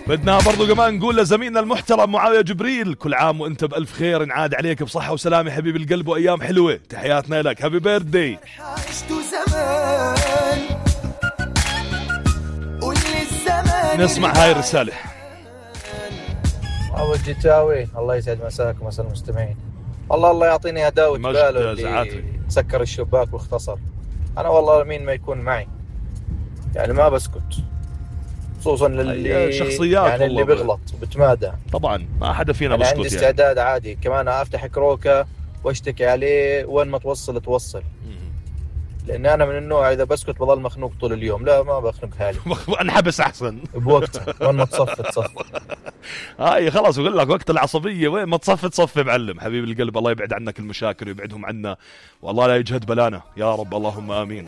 بدنا برضو كمان نقول لزميلنا المحترم معاوية جبريل كل عام وانت بألف خير، نعاد عليك بصحة وسلامة حبيب القلب وأيام حلوة. تحياتنا لك، هابي بيرثدي. نسمع هاي الرسالة. أبو الجتاوي الله يسعد مساك ومسا المستمعين. الله يعطيني هداوة باله اللي سكر الشباك واختصر. أنا والله مين ما يكون معي يعني ما بسكت، خصوصا للي شخصيات يعني اللي بيغلط بتمادى. طبعا ما حدا فينا بسكت. عندي استعداد يعني عادي كمان أفتح كروكة واشتكي عليه وين ما توصل لأن أنا من النوع إذا بسكت بضل مخنوق طول اليوم. لا ما بخنق حالي انحبس أحسن بوقتها وين ما تصفي هاي خلاص بقول لك وقت العصبية وين ما تصفي معلم. حبيب القلب الله يبعد عنك المشاكل ويبعدهم عنا والله لا يجهد بلانا يا رب اللهم آمين.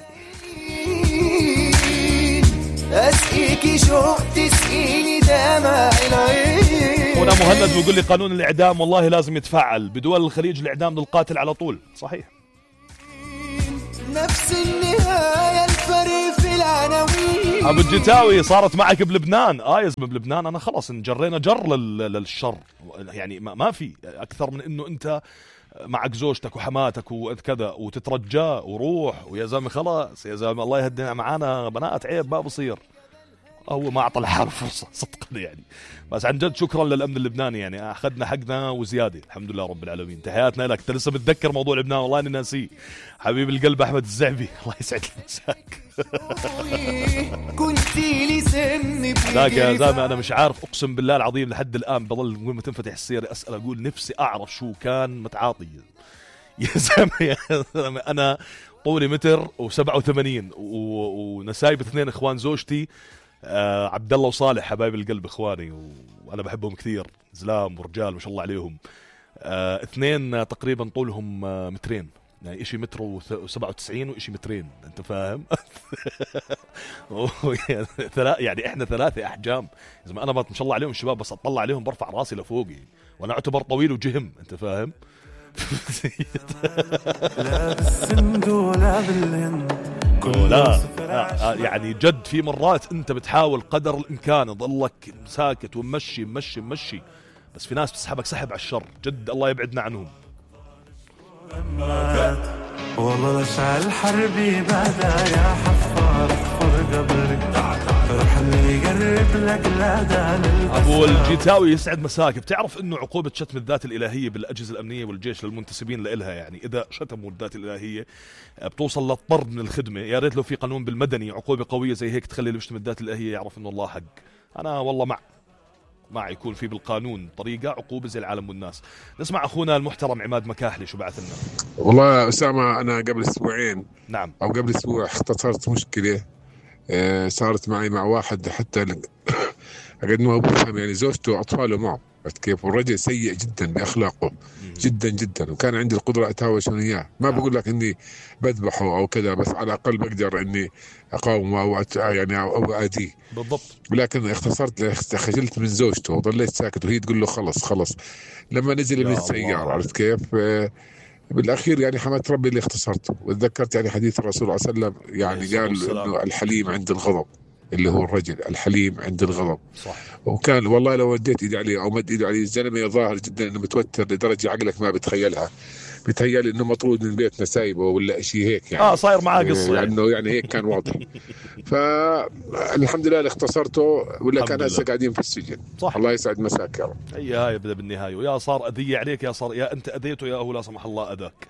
أسقيكي شوق تسقيني دمع العين. هنا مهند بيقول لي قانون الإعدام والله لازم يتفعل بدول الخليج، الإعدام للقاتل على طول. صحيح نفس النهاية الفرق في العناوين. أبو الجتاوي صارت معك بلبنان. يا زلمة بلبنان أنا خلص انجرينا جر للشر يعني ما في أكثر من إنه أنت معك زوجتك وحماتك وكذا وتترجاه وروح ويا زلمة خلاص يا زلمة الله يهدينا معانا بنات عيب ما بصير. هو ما أعطى الحال فرصة صدقني يعني. بس عن جد شكرا للأمن اللبناني يعني أخذنا حقنا وزيادة الحمد لله رب العالمين. تحياتنا لك. أنت لسه بتذكر موضوع لبنان والله أنا ناسيه. حبيب القلب أحمد الزعبي الله يسعد مساك. هذاك يا زلمة أنا مش عارف أقسم بالله العظيم لحد الآن بضل وين ما تنفتح السيرة أسأل أقول نفسي أعرف شو كان متعاطي يا زلمة. أنا طولي 1.87 ونسايب 2 إخوان زوجتي عبد الله وصالح حبايب القلب إخواني وأنا بحبهم كثير زلام ورجال ما شاء الله عليهم. 2 تقريبا طولهم 2 متر يعني إشي 1.97 وإشي 2 متر أنت فاهم. يعني إحنا 3 أحجام إذا أنا ما شاء الله عليهم الشباب بس أطلع عليهم برفع راسي لفوقي وأنا أعتبر طويل وجهم أنت فاهم. لا بالسند ولا بالهند لا يعني جد في مرات انت بتحاول قدر الامكان تضلك ساكت ومشي بس في ناس بتسحبك سحب على الشر جد الله يبعدنا عنهم. والله لشعل حربي بدا يا حفار اخفر قبرك روح اللي يقرب لك لا. ابو الجيتاوي يسعد مساك. بتعرف انه عقوبة شتم الذات الالهية بالاجهزة الامنية والجيش للمنتسبين لإلها يعني اذا شتموا الذات الالهية بتوصل للطرد من الخدمة. يا ريت لو في قانون بالمدني عقوبة قوية زي هيك تخلي اللي بيشتم الذات الالهية يعرف انه الله حق. انا والله مع يكون في بالقانون طريقة عقوبة زي العالم والناس. نسمع أخونا المحترم عماد مكاحلي شو بعث لنا. والله أسامة أنا قبل أسبوعين نعم أو قبل أسبوع اختصرت مشكلة صارت معي مع واحد حتى أقد ما بفهم يعني زوجته وأطفاله معه كيف. والرجل سيء جدا بأخلاقه جدا جدا وكان عندي القدرة أتهاوش إياه. ما بقول لك إني بذبحه أو كذا بس على الأقل بقدر إني أقاومه أو يعني أو أديه بالضبط. ولكن اختصرت خجلت من زوجته وضليت ساكت وهي تقول له خلص لما نزل من السيارة عرفت كيف. بالأخير يعني حمدت ربي اللي اختصرته وتذكرت يعني حديث الرسول صلى الله عليه وسلم يعني قال إنه الحليم عند الغضب اللي هو الرجل الحليم عند الغضب. صح. وكان والله لو وديت ايدي عليه او مد ايده عليه الزلمه ظاهر جدا انه متوتر لدرجه عقلك ما بتخيلها. بتهيألي انه مطرود من بيتنا سايبه ولا شيء هيك يعني صاير معاه قصه يعني يعني هيك كان واضح. فالحمد لله اللي اختصرته ولا كان هسه قاعدين في السجن. صح. الله يسعد مساك يا رب. هي بدا بالنهايه ويا صار اذيه عليك يا انت اذيته يا هو لا سمح الله اذاك.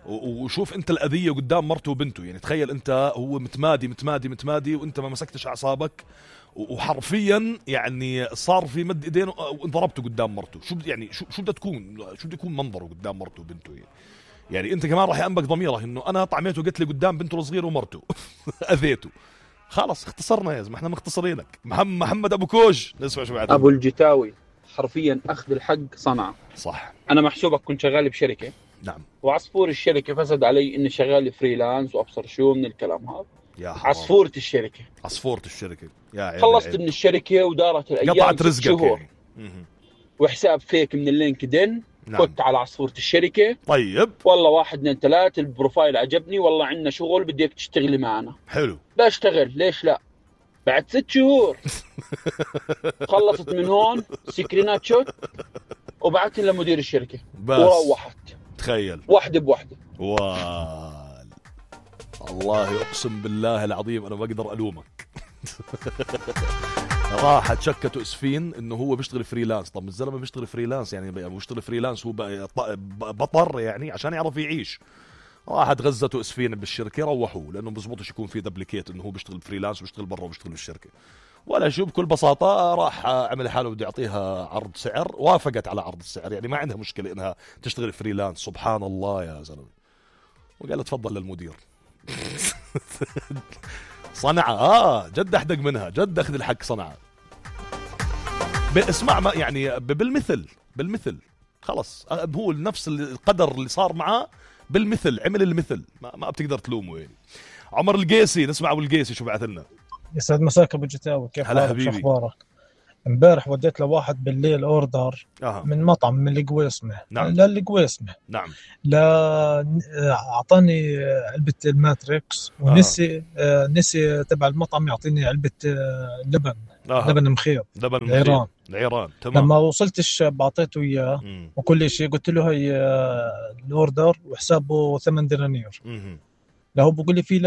وشوف انت الاذيه قدام مرته وبنته يعني تخيل انت هو متمادي وانت ما مسكتش اعصابك وحرفيا يعني صار في مد ايدين وانضربته قدام مرته. شو بده يكون منظره قدام مرته وبنته يعني انت كمان راح ينبك ضميره انه انا طعميته قتلي قدام بنته الصغير ومرته اذيته. خلاص اختصرنا يا زلمه احنا مختصرينك. محمد ابو كوج نسمع شو بعد. ابو الجتاوي حرفيا اخذ الحق صنعه. صح. انا محسوبك كنت شغال بشركه. نعم. وعصفور الشركه فسد علي اني شغال فريلانس وابصر شو من الكلام هذا. عصفورة الشركه يا خلصت من الشركه ودارت الايام قطعت رزقك يعني. وحساب فيك من اللينكدين. نعم. كنت على عصفورة الشركه. طيب والله 1 2 3 البروفايل عجبني والله عندنا شغل بديك تشتغلي معنا. حلو. بشتغل ليش لا. بعد 6 شهور خلصت من هون سكرينات شوت وبعتها لمدير الشركة وروحت. تخيل واحدة بواحدة. الله اقسم بالله العظيم انا ما اقدر الومك. راحت شكته اسفين انه هو بيشتغل فريلانس. طب الزلمه بيشتغل فريلانس يعني بيشتغل فريلانس هو بطر يعني عشان يعرف يعيش. راحت غزته اسفين بالشركه روحوه لانه بزبطش يكون في دبليكيت انه هو بيشتغل فريلانس وبيشتغل برا وبيشتغل بالشركه ولا شو. بكل بساطه راح عمل حاله بده يعطيها عرض سعر وافقت على عرض السعر يعني ما عندها مشكله انها تشتغل فريلانس. سبحان الله يا زلمه. وقال تفضل للمدير. صنعة جد احدق منها جد اخذ الحق صنعة. اسمع ما يعني بالمثل خلص هو نفس القدر اللي صار معاه بالمثل عمل المثل ما بتقدر تلومه يعني. عمر القيسي نسمع ابو القيسي شو بعث لنا. يسعد مساك ابو جتاوي كيف حالك شو اخبارك؟ امبارح وديت لواحد بالليل اوردر من مطعم من القويسمه. نعم. للقويسمه. نعم. اعطاني علبه الماتريكس ونسي نسي تبع المطعم يعطيني علبه لبن. لبن مخيط. لبن العيران. تمام. لما وصلت الشاب اعطيته اياه وكل شيء قلت له هي الاوردر وحسابه 8 دنانير. له بقول لي في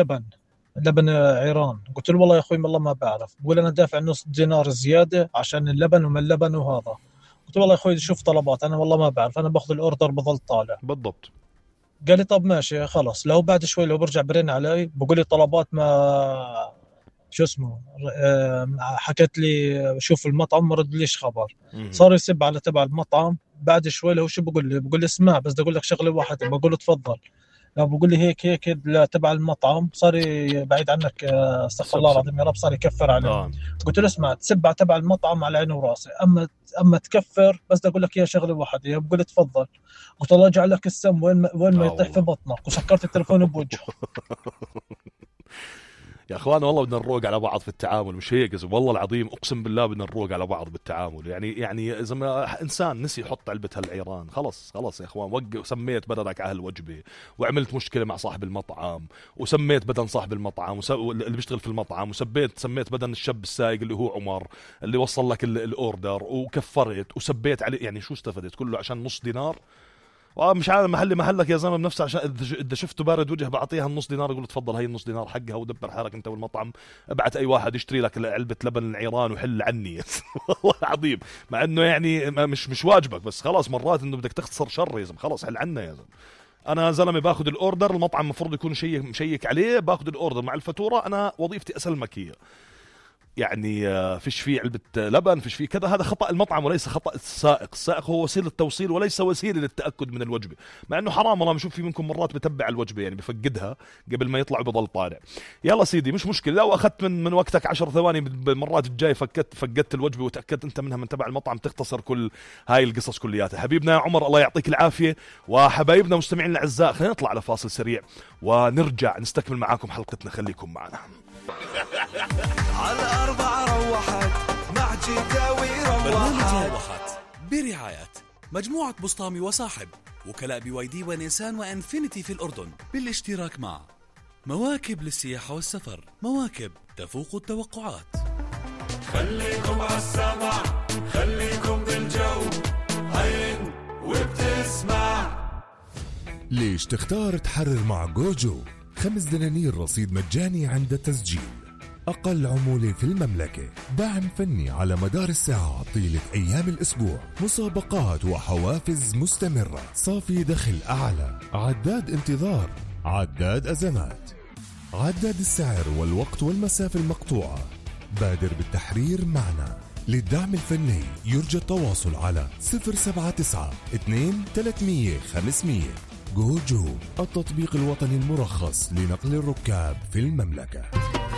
لبن عيران. قلت له والله يا اخوي والله ما بعرف. بقول انا دافع نص دينار زياده عشان اللبن وما اللبن وهذا. قلت له والله يا اخوي شوف طلبات انا والله ما بعرف انا باخذ الاوردر بضل طالع. بالضبط. قال لي طب ماشي خلص. لو بعد شوي لو برجع برن علي بقول لي طلبات ما شو اسمه حكت لي شوف المطعم ما ردليش خبر. صار يسب على تبع المطعم. بعد شوي له شو بقول لي اسمع بس بدي اقول لك شغله واحده. بقول له تفضل. بقول لي هيك تبع المطعم صار بعيد عنك استغفر الله العظيم يا رب صار يكفر عليه. قلت له اسمع تسبع تبع المطعم على عيني وراسي اما تكفر بس بدي اقول لك يا شغله واحده. بقول لي تفضل. قلت الله يجعل لك السم وين ما يطيح في بطنك وسكرت التليفون بوجهه. يا اخوان والله بدنا نروق على بعض في التعامل مش هيك والله العظيم اقسم بالله بدنا نروق على بعض بالتعامل يعني اذا ما انسان نسي يحط علبه هالعيران خلص يا اخوان وقف. سميت بدنك على هالوجبه وعملت مشكله مع صاحب المطعم وسميت بدن صاحب المطعم اللي بيشتغل في المطعم سميت بدن الشاب السايق اللي هو عمر اللي وصل لك الاوردر وكفرت وسبيت عليه يعني شو استفدت كله عشان نص دينار. مش عارف محلك يا زلمه بنفسه عشان اذا شفته بارد وجه بعطيها النص دينار يقول تفضل هي النص دينار حقها ودبر حالك انت والمطعم. ابعت اي واحد يشتري لك علبه لبن العيران وحل عني. والله العظيم مع انه يعني مش واجبك بس خلاص مرات انه بدك تختصر شر يا زلمه خلاص حل عنا يا زلمه. انا زلمه باخذ الاوردر المطعم المفروض يكون مشيك عليه باخذ الاوردر مع الفاتوره انا وظيفتي اسلمك هي يعني فيش فيه علبة لبن فيش فيه كذا. هذا خطأ المطعم وليس خطأ السائق هو وسيلة توصيل وليس وسيلة للتأكد من الوجبة. مع انه حرام والله بشوف في منكم مرات بتبع الوجبة يعني بفقدها قبل ما يطلع وبضل طالع. يلا سيدي مش مشكلة لو اخذت من وقتك 10 ثواني بالمرات الجاي فقدت الوجبة وتأكدت انت منها من تبع المطعم تختصر كل هاي القصص كلياتها. حبيبنا يا عمر الله يعطيك العافية. وحبايبنا مستمعين الاعزاء خلينا نطلع على فاصل سريع ونرجع نستكمل معاكم حلقتنا. خليكم معنا. على 4 روحت مع جداوي روحت برعاية مجموعة بسطامي وصاحب وكلاء BYD ونيسان وانفينيتي في الأردن بالاشتراك مع مواكب للسياحة والسفر. مواكب تفوق التوقعات. خليكم عالسمع خليكم بالجو عين وبتسمع. ليش تختار تحرر مع جوجو؟ 5 دنانير رصيد مجاني عند التسجيل. أقل عمولة في المملكة. دعم فني على مدار الساعة طيلة أيام الأسبوع. مسابقات وحوافز مستمرة. صافي دخل أعلى. عداد انتظار. عداد أزمات. عداد السعر والوقت والمسافة المقطوعة. بادر بالتحرير معنا. للدعم الفني يرجى التواصل على 079 2 300 500. جوجو التطبيق الوطني المرخص لنقل الركاب في المملكة.